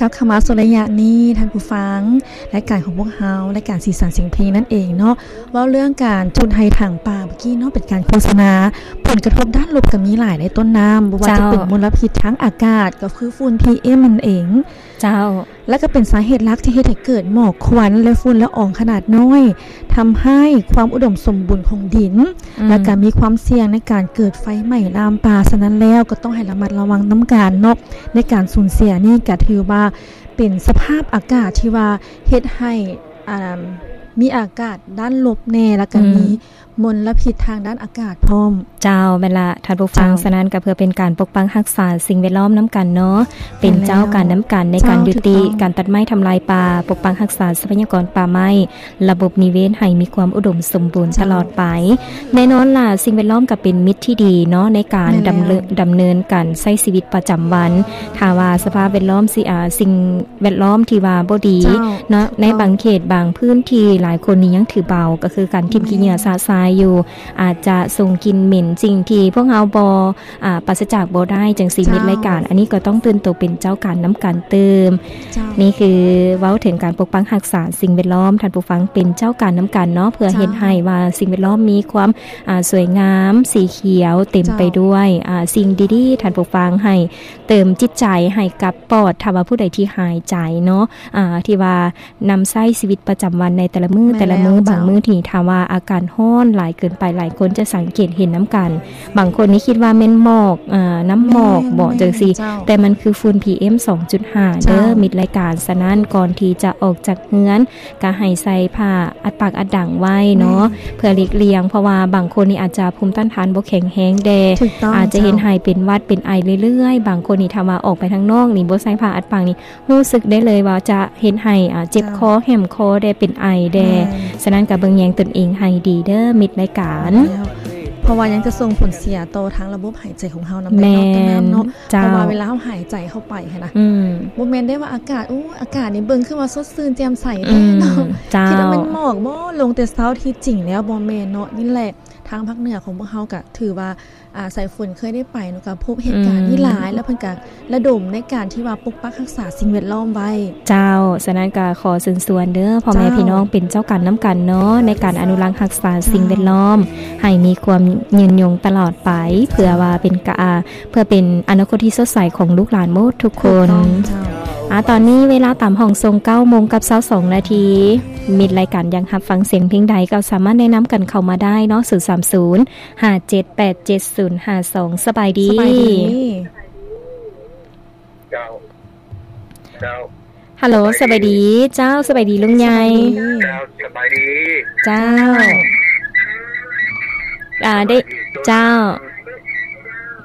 ກັບເຂົ້າມາສູ່ໄລຍະນີ້ ທ່ານຜູ້ຟັງ, ລາຍການຂອງພວກເຮົາ ລາຍການສີສັນສຽງເພງນັ້ນເອງເນາະ, ເວົ້າເລື່ອງການຈູດໄຮ່ຖາງປ່າເມື່ອກີ້ເນາະ ເປັນການໂຄສະນາ. ຜົນກະທົບດ້ານລົບກໍມີຫຼາຍໃນຕົ້ນນ້ຳ, ບໍ່ວ່າຈະເປັນ ເຈົ້າ ມົນລະພິດທາງອາກາດ ກໍຄືຝຸ່ນ ພີເອັມ ນັ້ນເອງ. ເຈົ້າ. ແລະກໍເປັນສາເຫດຫຼັກທີ່ເຮັດໃຫ້ເກີດໝອກຄວັນ ແລະ ຝຸ່ນລະອອງຂະໜາດນ້ອຍ, ທຳຮ້າຍຄວາມອຸດົມສົມບູນຂອງດິນ, ອືມ ແລະກໍມີຄວາມສ່ຽງໃນການເກີດໄຟໄໝ້ລາມປ່າ. ສະນັ້ນແລ້ວກໍຕ້ອງໃຫ້ລະມັດລະວັງນຳກັນເນາະ, ໃນການສູນເສຍນີ້ກໍຖືວ່າເປັນສະພາບອາກາດທີ່ວ່າເຮັດໃຫ້ ອ່າ ມີອາກາດດ້ານລົບແດ່ ແລະກໍ ອືມ ມີ ມົນລະພິດທາງດ້ານອາກາດພ້ອມ. ເຈົ້າ, ແມ່ນລະ ທ່ານຜູ້ຟັງ. ເຈົ້າ. ສະນັ້ນກໍເພື່ອເປັນການປົກປັກຮັກສາສິ່ງແວດລ້ອມນຳກັນເນາະ, ເປັນເຈົ້າການນຳກັນໃນການ ເຈົ້າ ຍຸຕິ ຖືກຕ້ອງ ການຕັດໄມ້ທຳລາຍປ່າ, ປົກປັກຮັກສາຊັບພະຍາກອນປ່າໄມ້, ລະບົບນິເວດໃຫ້ມີຄວາມອຸດົມສົມບູນ ເຈົ້າ ຕະຫຼອດໄປ. ແນ່ນອນລະ ສິ່ງແວດລ້ອມກໍເປັນມິດທີ່ດີເນາະ ໃນການ ແມ່ນແລ້ວ ດຳເນີນ ດຳເນີນການໃຊ້ຊີວິດປະຈຳວັນ. ຖ້າວ່າສະພາບແວດລ້ອມ ຊິ ອ່າ ສິ່ງ ແວດລ້ອມທີ່ວ່າບໍ່ດີ ເຈົ້າ ເນາະ ໃນບາງເຂດບາງພື້ນທີ່ ຫຼາຍຄົນນີ້ຍັງຖືເບົາ ກໍຄືການຖິ້ມ ອືມ ຂີ້ເຫຍື້ອຊະຊາຍຢູ່ ອາດຈະສົ່ງກິ່ນເໝັນ ສິ່ງທີ່ພວກເຮົາບໍ່ ອາ ປາສະຈາກບໍ່ໄດ້ ຈັ່ງຊີ້ ເຈົ້າ ມິດລາຍການ ອັນນີ້ກໍຕ້ອງຕື່ນໂຕເປັນເຈົ້າການນຳກັນຕື່ມ. ເຈົ້າ. ນີ້ຄືເວົ້າເຖິງການປົກປັກຮັກສາສິ່ງແວດລ້ອມ ທ່ານຜູ້ຟັງເປັນເຈົ້າການນຳກັນເນາະ ເພື່ອ ເຈົ້າ ເຮັດໃຫ້ວ່າສິ່ງແວດລ້ອມມີຄວາມ ອາ ສວຍງາມ ສີຂຽວ ເຕັມ ເຈົ້າ ໄປດ້ວຍ ອາ ສິ່ງດີໆ ທ່ານຜູ້ຟັງ ໃຫ້ເຕີມຈິດໃຈໃຫ້ກັບປອດ ຖ້າວ່າຜູ້ໃດທີ່ຫາຍໃຈເນາະ ອາ ທີ່ວ່າ ນຳໃຊ້ຊີວິດປະຈຳວັນໃນແຕ່ລະມື້ ແມ່ນແລ້ວ ແຕ່ລະມື້ ເຈົ້າ ບາງມື້ທີ່ຖ້າວ່າອາກາດຮ້ອນຫຼາຍເກີນໄປ ຫຼາຍຄົນຈະສັງເກດເຫັນນຳກັນ. ບາງຄົນນີ້ຄິດວ່າແມ່ນໝອກ ເອີ ນ້ຳໝອກບໍ ແມ່ນ ຈັ່ງຊີ້ ແມ່ນເຈົ້າ ແຕ່ມັນຄືຝຸ່ນ ພີເອັມ ສອງຈຸດຫ້າ ເຈົ້າ ເດີ ມິດລາຍການ. ສະນັ້ນ ກ່ອນທີ່ຈະອອກຈາກເຮືອນ ກໍໃຫ້ໃສ່ຜ້າອັດປາກອັດດັງໄວ້ເນາະ ແມ່ນ ເພື່ອຫຼີກລ່ຽງ ເພາະວ່າບາງຄົນນີ້ອາດຈະພູມຕ້ານທານບໍ່ແຂງແຮງແດ່ ຖືກຕ້ອງ ອາດຈະເຮັດ ເຈົ້າ ໃຫ້ເປັນຫວັດເປັນໄອເລື້ອຍໆ. ບາງຄົນນີ້ຖ້າວ່າອອກໄປທາງນອກນີ້ ບໍ່ໃສ່ຜ້າອັດປາກນີ້ ຮູ້ສຶກໄດ້ເລີຍວ່າຈະເຮັດໃຫ້ ອາ ເຈັບຄໍ ເຈົ້າ ແຫ້ມຄໍແດ່ ເປັນໄອແດ່. ແມ່ນ ສະນັ້ນກໍເບິ່ງແຍງຕົນເອງໃຫ້ດີເດີ ມິດລາຍການ ແມ່ນແລ້ວ ເພາະວ່າຍັງຈະສົ່ງຜົນເສຍຕໍ່ທາງລະບົບຫາຍໃຈຂອງເຮົານຳ ແມ່ນ ເນາະ ເຈົ້າ ເພາະວ່າເວລາເຮົາຫາຍໃຈເຂົ້າໄປຫັ້ນນະ ອືມ ບໍ່ແມ່ນໄດ້ວ່າອາກາດ ໂອ້ ອາກາດນີ້ເບິ່ງຄືວ່າສົດຊື່ນແຈ່ມໃສແທ້ເນາະ ອືມ ເຈົ້າ ຄິດວ່າແມ່ນໝອກບໍ ລົງແຕ່ເຊົ້າ ທີ່ຈິງແລ້ວບໍ່ແມ່ນເນາະ. ນີ້ແຫຼະ ທາງພາກເໜືອຂອງພວກເຮົາກໍຖືວ່າ ອາ ສາຍຝົນເຄີຍໄດ້ໄປເນາະ ກໍພົບເຫດການນີ້ຫຼາຍ ອືມ ແລ້ວເພິ່ນກໍລະດົມໃນການທີ່ວ່າປົກປັກຮັກສາສິ່ງແວດລ້ອມໄວ້. ເຈົ້າ, ສະນັ້ນກໍຂໍເຊີນຊວນເດີ ພໍ່ແມ່ ເຈົ້າ ພີ່ນ້ອງເປັນເຈົ້າການນຳກັນເນາະ ໃນການອະນຸລັກຮັກສາ ເຈົ້າ ສິ່ງແວດລ້ອມ ໃຫ້ມີຄວາມຍືນຍົງຕະຫຼອດໄປ ເພື່ອວ່າເປັນກະ ເພື່ອເປັນອະນາຄົດທີ່ສົດໃສຂອງລູກຫຼານໝົດທຸກຄົນ. ຖືກຕ້ອງເຈົ້າ. ອາ ຕອນນີ້ເວລາຕາມຫ້ອງສົ່ງ ເກົ້າໂມງກັບຊາວສອງນາທີ ມິດລາຍການຢາກຮັບຟັງສຽງເພງໃດ ກໍສາມາດແນະນຳກັນເຂົ້າມາໄດ້ເນາະ ສູນສາມສູນ ຫ້າເຈັດແປດເຈັດສູນຫ້າສອງ. ສະບາຍດີ. ສະບາຍດີ. ເຈົ້າ ເຈົ້າ. ຮັລໂຫຼ ສະບາຍດີ. ສະບາຍດີເຈົ້າ ສະບາຍດີລຸງໃຫຍ່. ສະບາຍດີ. ເຈົ້າ ສະບາຍດີ. ເຈົ້າ. ເຈົ້າ. ອາ ໄດ້ ເຈົ້າ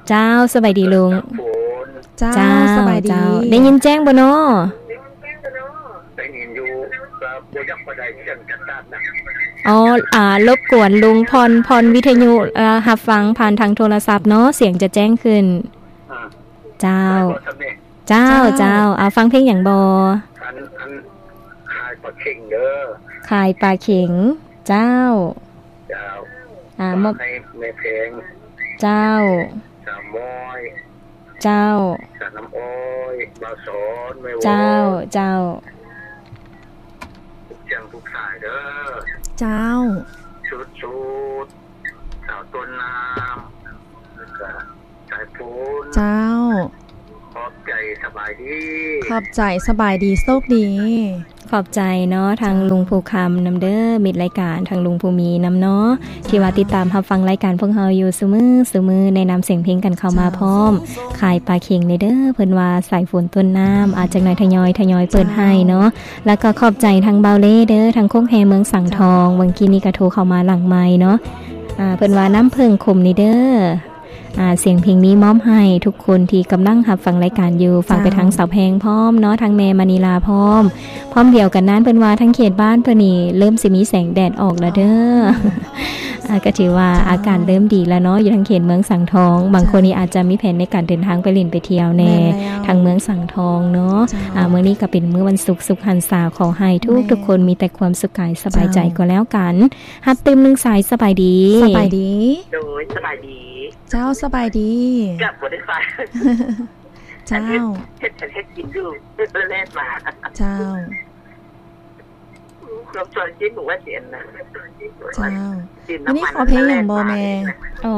ເຈົ້າ ສະບາຍດີລຸງ. ເຈົ້າ ເຈົ້າ ສະບາຍດີ. ເຈົ້າ ໄດ້ຍິນແຈ້ງບໍ່ນໍ? ໄດ້ຍິນຢູ່ ກໍບໍ່ຢາກປານໃດ ສຽງຈັດໆນະ. ອໍ ອາ ລົບກວນລຸງຜ່ອນ ຜ່ອນວິທະຍຸ ເອີ ຮັບຟັງຜ່ານທາງໂທລະສັບເນາະ ສຽງຈະແຈ້ງຂຶ້ນ. ອືມ ເຈົ້າ ເຈົ້າ ເຈົ້າ. ເອົາຟັງເພງຫຍັງບໍ່? ອັນ ອັນ ຂາຍປາເຂັງເດີ. ຂາຍປາເຂັງ. ເຈົ້າ. ເຈົ້າ. ອາ ມອບໃຫ້ແມ່ແພງ. ເຈົ້າ. ສາວມອຍ. ເຈົ້າ. ສາວນ້ຳອ້ອຍ. ບ່າວສອນ. ແມ່ວອນ. ເຈົ້າ ເຈົ້າ. ທຸກສຽງທຸກສາຍເດີ. ເຈົ້າ. ສຸດໆ ສາວຕົ້ນນ້ຳ ແລ້ວກະ ສາຍຝົນ. ເຈົ້າ. ຂອບໃຈ. ສະບາຍດີ. ຂອບໃຈ. ສະບາຍດີ. ໂຊກດີ. ຂອບໃຈເນາະ ທາງ ເຈົ້າ ລຸງພູຄຳນຳເດີ ມິດລາຍການ ທາງລຸງພູມີນຳເນາະ ເຈົ້າ ທີ່ວ່າຕິດຕາມຮັບຟັງລາຍການພວກເຮົາຢູ່ຊຸມື້ ຊຸມື້ ແນະນຳສຽງເພງກັນເຂົ້າມາ ເຈົ້າ ພ້ອມ. ຂາຍປາເຂັງເດີ ເພິ່ນວ່າສາຍຝົນຕົ້ນນ້ຳ ອາ ຈັກໜ່ອຍທະຍອຍ ທະຍອຍເປີດໃຫ້ເນາະ ເຈົ້າ. ແລ້ວກໍຂອບໃຈທາງບ່າວເລເດີ ທາງໂຄກແຮ່ເມືອງສັງທອງ ເຈົ້າ ເມື່ອກີ້ນີ້ກໍໂທເຂົ້າມາຫຼັງໄມເນາະ ອາ ເພິ່ນວ່ານ້ຳເຜິ້ງຂົມນີ້ເດີ. ອາ ສຽງເພງນີ້ມອບໃຫ້ທຸກຄົນທີ່ກຳລັງຮັບຟັງລາຍການຢູ່ ຝາກໄປທາງ ເຈົ້າ ສາວແພງພ້ອມເນາະ ທາງແມ່ມະນີລາພ້ອມ. ພ້ອມດຽວກັນນັ້ນ ເພິ່ນວ່າທາງເຂດບ້ານເພິ່ນນີ້ເລີ່ມຊິມີແສງແດດອອກແລ້ວເດີ. ອືມ ອາ ກໍຖືວ່າ ເຈົ້າ ອາກາດເລີ່ມດີແລ້ວເນາະ ຢູ່ທາງເຂດເມືອງສັງທອງ. ເຈົ້າ. ບາງຄົນນີ້ອາດຈະມີແຜນໃນການເດີນທາງໄປຫຼິ້ນໄປທ່ຽວແດ່ ແມ່ນແລ້ວ ທາງເມືອງສັງທອງເນາະ. ເຈົ້າ. ອາ ມື້ນີ້ກໍເປັນມື້ວັນສຸກ ສຸກຫັນສາ ຂໍໃຫ້ທຸກໆຄົນ ແມ່ນ ມີແຕ່ຄວາມສຸກກາຍສະບາຍໃຈ ເຈົ້າ ກໍແລ້ວກັນ. ຮັບຕື່ມໜຶ່ງສາຍ. ສະບາຍດີ. ສະບາຍດີ. ໂດຍ ສະບາຍດີ. ເຈົ້າ ສະບາຍດີ. ເກືອບບໍ່ໄດ້ຟັງ. ເຈົ້າ. ເຮັດ ເຮັດ ເຮັດ ກິນຢູ່ ແລ່ນມາ. ເຈົ້າ. ຄວາມສວຍຈິນບອກວ່າຊິອັນນັ້ນ ເຈົ້າ. ມື້ນີ້ຂໍເພງຫຍັງບໍ່ແມ່? ອໍ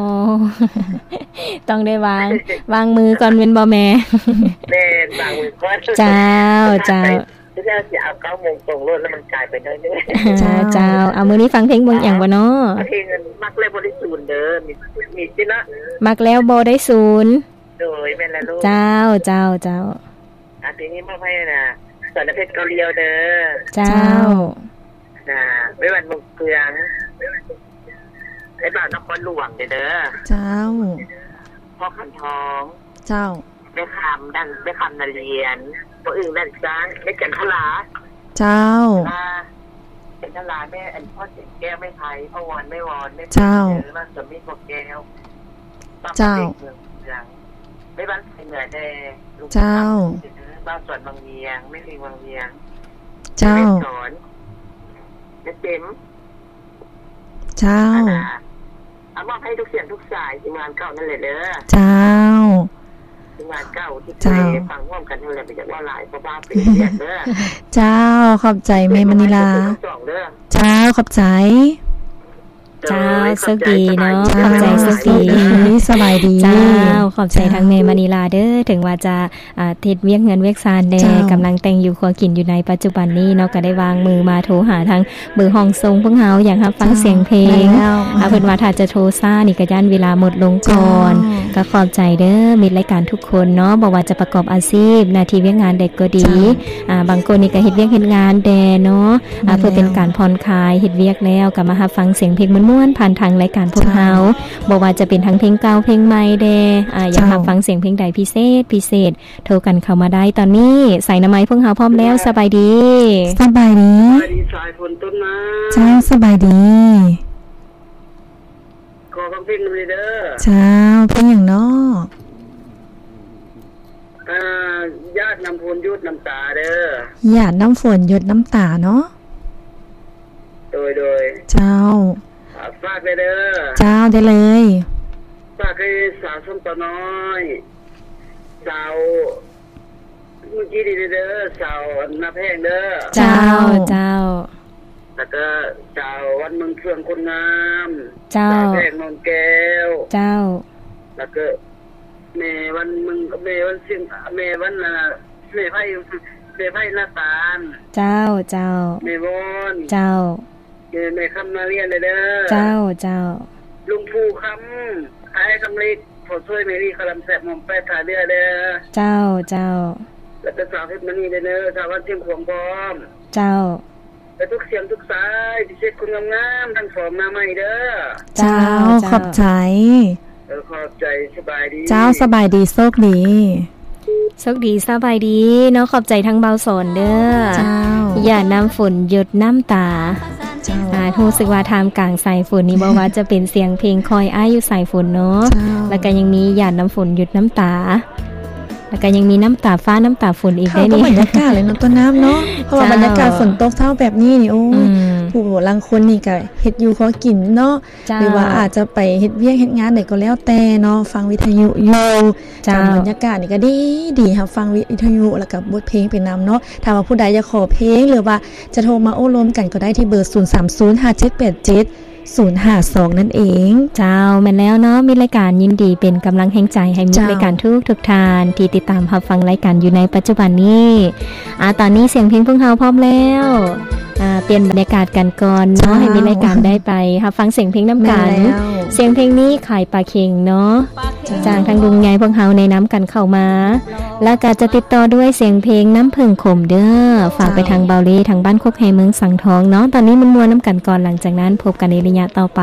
ຕ້ອງໄດ້ວາງ ວາງມືກ່ອນແມ່ນບໍ່ແມ່? ແມ່ນ ວາງມືກ່ອນ. ເຈົ້າ ເຈົ້າ. ເຈົ້າຊິເອົາເກົ້າໂມງຕົງໂລດ ແລ້ວມັນກາຍໄປໜ້ອຍໜຶ່ງ. ເຈົ້າ ເຈົ້າ. ເອົາ ມື້ນີ້ຟັງເພງເບິ່ງຫຍັງບໍ່ເນາະ? ເພງມັກແລ້ວບໍ່ໄດ້ສູນເດີ ມີ ມີຕິເນາະ ມັກແລ້ວບໍ່ໄດ້ສູນ. ໂດຍ ແມ່ນແລ້ວລູກ. ເຈົ້າ ເຈົ້າ ເຈົ້າ. ອາ ທີນີ້ມອບໃຫ້ນະ ສອນເພັດເກົາຫຼຽວເດີ. ເຈົ້າ. ນະ ໄວວັນມົງເຄືອງ ໄອ້ບ່າວນະຄອນຫຼວງເດີ. ເຈົ້າ. ພໍ່ຂັນທອງ. ເຈົ້າ. ແມ່ຄຳດັນ ແມ່ຄຳນາລຽນ ພໍ່ອຶ່ງດັນຊ້າງ ແມ່ຈັນທະລາ. ເຈົ້າ. ຈັນທະລາ ແມ່ອັນ ພໍ່ແສງແກ້ວ ແມ່ໄພ ພໍ່ວອນ ແມ່ວອນ ແມ່ ເຈົ້າ. ເອີ ບ້ານສວນມິດ ພໍ່ແກ້ວ ເຈົ້າ. ເມືອງ ແມ່ບ້ານໄພເໜືອແດ່. ເຈົ້າ. ບ້ານສວນວັງວຽງ ແມ່ເພງວັງວຽງ. ເຈົ້າ. ແມ່ສອນ ແມ່ເຕັມ. ເຈົ້າ. ອາ ອາ ມອບໃຫ້ທຸກສຽງທຸກສາຍ ທີມງານເກົ່ານັ້ນແຫຼະເດີ. ເຈົ້າ. ທີມງານເກົ່າທີ່ ເຈົ້າ ເຄີຍຟັງຮ່ວມກັນນັ້ນແຫຼະ ບໍ່ຢາກເວົ້າຫຼາຍ ເພາະວ່າເປັນວຽກເດີ. ເຈົ້າ ຂອບໃຈແມ່ມະນີລາ. ເຈົ້າ ຂອບໃຈ. ເຈົ້າ ໂຊກດີເນາະ. ເຈົ້າ ຂອບໃຈ ໂຊກດີ. ໂຊກດີ ສະບາຍດີ. ເຈົ້າ ຂອບໃຈ ເຈົ້າ ທາງແມ່ມະນີລາເດີ ເຖິງວ່າຈະ ອາ ເຮັດວຽກເຮືອນວຽກຊານແດ່ ເຈົ້າ ກຳລັງແຕ່ງຢູ່ຄົວກິນຢູ່ໃນປັດຈຸບັນນີ້ເນາະ ກໍໄດ້ວາງມືມາໂທຫາທາງເບີຫ້ອງສົ່ງພວກເຮົາ ຢາກຮັບຟັງ ເຈົ້າ ສຽງເພງ. ແມ່ນແລ້ວ. ອາ ເພິ່ນວ່າຖ້າຈະໂທຊ້ານີ້ກໍຢ້ານເວລາໝົດລົງກ່ອນ. ເຈົ້າ. ກໍຂອບໃຈເດີມິດລາຍການທຸກຄົນເນາະ ບໍ່ວ່າຈະປະກອບອາຊີບ ໜ້າທີ່ວຽກງານໃດກໍດີ. ເຈົ້າ. ອາ ບາງຄົນນີ້ກໍເຮັດວຽກເຮັດງານແດ່ເນາະ. ອາ ແມ່ນແລ້ວ. ເພື່ອເປັນການຜ່ອນຄາຍ ເຮັດວຽກແລ້ວກໍມາຮັບຟັງສຽງເພງມ່ວນໆ ຜ່ານທາງລາຍການພວກເຮົາ. ເຈົ້າ. ບໍ່ວ່າຈະເປັນທັງເພງເກົ່າເພງໃໝ່ແດ່. ອາ ຢາກ ເຈົ້າ ຮັບຟັງສຽງເພງໃດພິເສດ ພິເສດ ໂທກັນເຂົ້າມາໄດ້ຕອນນີ້. ສາຍໜ້າໄມ້ພວກເຮົາພ້ອມແລ້ວ. ສະບາຍດີ. ສະບາຍດີ. ສະບາຍດີ ສາຍຝົນຕົ້ນນ້ຳ. ເຈົ້າ ສະບາຍດີ. ຂໍຟັງເພງນຳເດີ. ເຈົ້າ. ເພງຫຍັງເນາະ? ອາ ຢາດນ້ຳຝົນຢົດນ້ຳຕາເດີ. ຢາດນ້ຳຝົນຢົດນ້ຳຕາເນາະ. ໂດຍ ໂດຍ. ເຈົ້າ. ຝາກໄວ້ເດີ. ເຈົ້າ ໄດ້ເລີຍ. ຝາກໃຫ້ສາວຊົນເຜົ່ານ້ອຍ ສາວມື້ກີ້ນີ້ເດີ ສາວໜ້າແພງເດີ. ເຈົ້າ ເຈົ້າ ເຈົ້າ. ແລ້ວກໍສາວວັນເມືອງເຟືອງຄົນງາມ. ເຈົ້າ. ສາວແພງນອນແກ້ວ. ເຈົ້າ. ແລ້ວກໍແມ່ວັນເມືອງ ແມ່ວັນຊຽງ ແມ່ວັນ ອາ ແມ່ໄພ ແມ່ໄພນາຕານ. ເຈົ້າ ເຈົ້າ. ແມ່ວອນ. ເຈົ້າ. ແມ່ຄຳນາລຽນເດີ. ເຈົ້າ ເຈົ້າ. ລຸງພູຄຳ ອ້າຍຄຳເລັກ ພໍ່ຊ່ວຍແມ່ລີ ຄະລຳແຊບ ໝອມແປດ ທ່າເຮືອເດີ. ເຈົ້າ ເຈົ້າ. ແລ້ວກໍສາວເພັດມະນີເດີ ສາວວັນຊຽງຂວາງພ້ອມ. ເຈົ້າ. ແລະ ທຸກສຽງທຸກສາຍ ພິເສດຄົນງາມໆ ທັງສອງໜ້າໃໝ່ເດີ. ເຈົ້າ ເຈົ້າ ເຈົ້າ. ຂອບໃຈ. ເອີ ຂອບໃຈ. ສະບາຍດີ. ເຈົ້າ ສະບາຍດີ ໂຊກດີ. ໂຊກດີ ສະບາຍດີເນາະ. ຂອບໃຈທາງບ່າວສອນເດີ. ເຈົ້າ. ຢາດນ້ຳຝົນຢົດນ້ຳຕາ. ເຈົ້າ. ອາ ຮູ້ສຶກວ່າທ່າມກາງສາຍຝົນນີ້ ບໍ່ວ່າຈະເປັນສຽງເພງຄອຍອ້າຍຢູ່ສາຍຝົນເນາະ. ເຈົ້າ. ແລ້ວກໍຍັງມີຢາດນ້ຳຝົນຢົດນ້ຳຕາ. ແລ້ວກໍຍັງມີນ້ຳຕາຟ້ານ້ຳຕາຝົນອີກ ເຂົ້າກັບບັນຍາກາດເລີຍເນາະ ຕົ້ນນ້ຳເນາະ. ເຈົ້າ. ເພາະວ່າບັນຍາກາດຝົນຕົກເຊົ້າແບບນີ້ນີ້ ໂອ້ຍ ອືມ ຜູ້ລາງຄົນນີ້ກໍເຮັດຢູ່ຂໍກິນເນາະ. ເຈົ້າ. ຫຼືວ່າອາດຈະໄປເຮັດວຽກເຮັດງານໃດກໍແລ້ວແຕ່ເນາະ ຟັງວິທະຍຸຢູ່. ເຈົ້າ. ກັບບັນຍາກາດນີ້ກໍດີໆ ຮັບຟັງວິທະຍຸ ແລ້ວກໍບົດເພງໄປນຳເນາະ. ຖ້າວ່າຜູ້ໃດຢາກຂໍເພງ ຫຼືວ່າຈະໂທມາໂອ້ລົມກັນກໍໄດ້ທີ່ເບີ ສູນສາມສູນ ຫ້າເຈັດແປດເຈັດ ສູນຫ້າສອງ ນັ້ນເອງ. ເຈົ້າ ແມ່ນແລ້ວເນາະ. ມິດລາຍການຍິນດີເປັນກຳລັງແຮງໃຈໃຫ້ມິດລາຍການ ເຈົ້າ ທຸກໆທ່ານທີ່ຕິດຕາມຮັບຟັງລາຍການຢູ່ໃນປັດຈຸບັນນີ້. ອາ ຕອນນີ້ສຽງເພງພວກເຮົາພ້ອມແລ້ວ. ອາ ປ່ຽນບັນຍາກາດກັນກ່ອນເນາະ ເຈົ້າ ໃຫ້ມິດລາຍການໄດ້ໄປຮັບຟັງສຽງເພງນຳກັນ. ແມ່ນແລ້ວ. ສຽງເພງນີ້ຂາຍປາເຄັງເນາະ. ເຈົ້າ. ຈາກທາງລຸງໃຫຍ່ພວກເຮົາແນະນຳກັນເຂົ້າມາ ແລ້ວກໍຈະຕິດຕໍ່ດ້ວຍສຽງເພງນ້ຳເຜິ້ງຂົມເດີ. ເຈົ້າ. ຝາກໄປທາງເບົາລີ ທາງບ້ານຄົກແຮເມືອງສັງທອງເນາະ. ຕອນນີ້ມ່ວນໆນຳກັນກ່ອນ ຫຼັງຈາກນັ້ນພົບກັນໃນໄລຍະຕໍ່ໄປ.